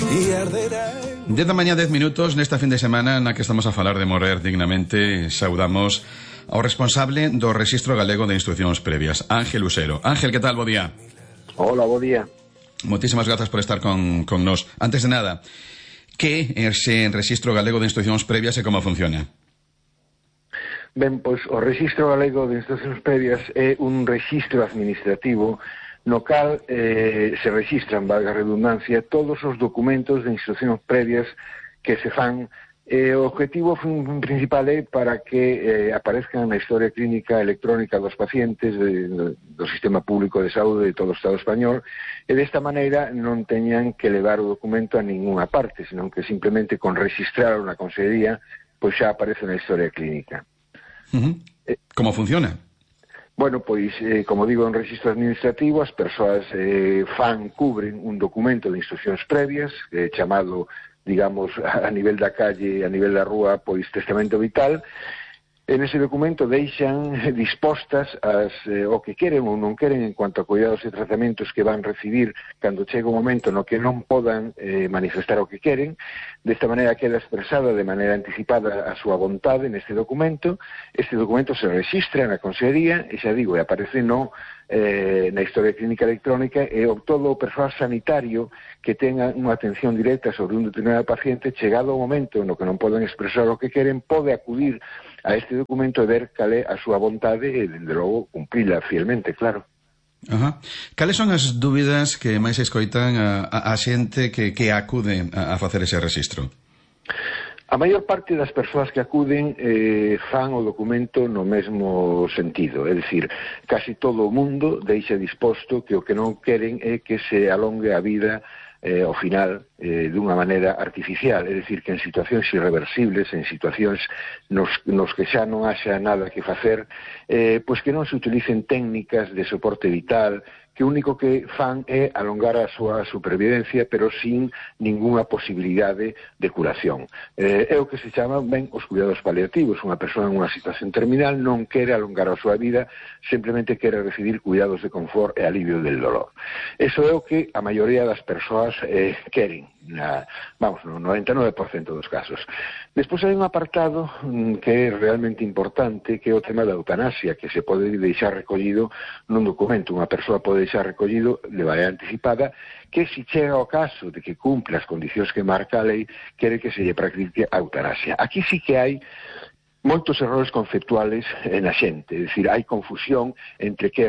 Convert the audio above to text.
10 da mañá, 10 minutos. Nesta fin de semana na que estamos a falar de morrer dignamente, saudamos ao responsable do Rexistro Galego de Instrucións Previas, Ángel Usero. Ángel, que tal? Bo día. Hola, bo día. Moitísimas grazas por estar con nós. Antes de nada, que é ese Rexistro Galego de Instrucións Previas e como funciona? Ben, pois o Rexistro Galego de Instrucións Previas é un rexistro administrativo no cal se rexistran, valga a redundancia, todos os documentos de instruccións previas que se fan. O objetivo principal é para que aparezcan na historia clínica electrónica dos pacientes do sistema público de saúde de todo o Estado español, e desta maneira non teñan que levar o documento a ninguna parte, senón que simplemente con registrar na consellería pois xa aparece na historia clínica. Como funciona? Bueno, pois, como digo, é un rexistro administrativo. As persoas cubren un documento de instruccións previas, chamado, digamos, a nivel da calle, a nivel da rúa, pois, testamento vital. En ese documento deixan dispostas o que queren ou non queren en cuanto a cuidados e tratamentos que van recibir cando chega o momento no que non podan manifestar o que queren. Desta maneira queda expresada de maneira anticipada a súa vontade neste documento. Este documento se registra na consellería e, xa digo, aparece na historia clínica electrónica, e todo o persoal sanitario que tenga unha atención directa sobre un determinado paciente, chegado o momento no que non poden expresar o que queren, pode acudir a este documento e ver cal é a súa vontade e, dende logo, cumprila fielmente, claro. Cales son as dúbidas que máis escoitan a xente que acude a facer ese rexistro? A maior parte das persoas que acuden fan o documento no mesmo sentido, é dicir, casi todo o mundo deixa disposto que o que non queren é que se alongue a vida ao final dunha maneira artificial, é dicir, que en situacións irreversibles, en situacións nos que xa non haxa nada que facer, pois que non se utilicen técnicas de soporte vital, que o único que fan é alongar a súa supervivencia, pero sin ningunha posibilidade de curación. É o que se chama, ben, os cuidados paliativos. Unha persoa en unha situación terminal non quere alongar a súa vida, simplemente quere recibir cuidados de confort e alivio del dolor. Eso é o que a maioría das persoas queren, no 99% dos casos. Despois hai un apartado que é realmente importante, que é o tema da eutanasia, que se pode deixar recollido nun documento. Unha persoa pode deixar recollido de maneira anticipada que, se chega ao caso de que cumpre as condicións que marca a lei, quere que se lle practique a eutanasia. Aquí sí que hai moitos errores conceptuales na xente, é dicir, hai confusión entre que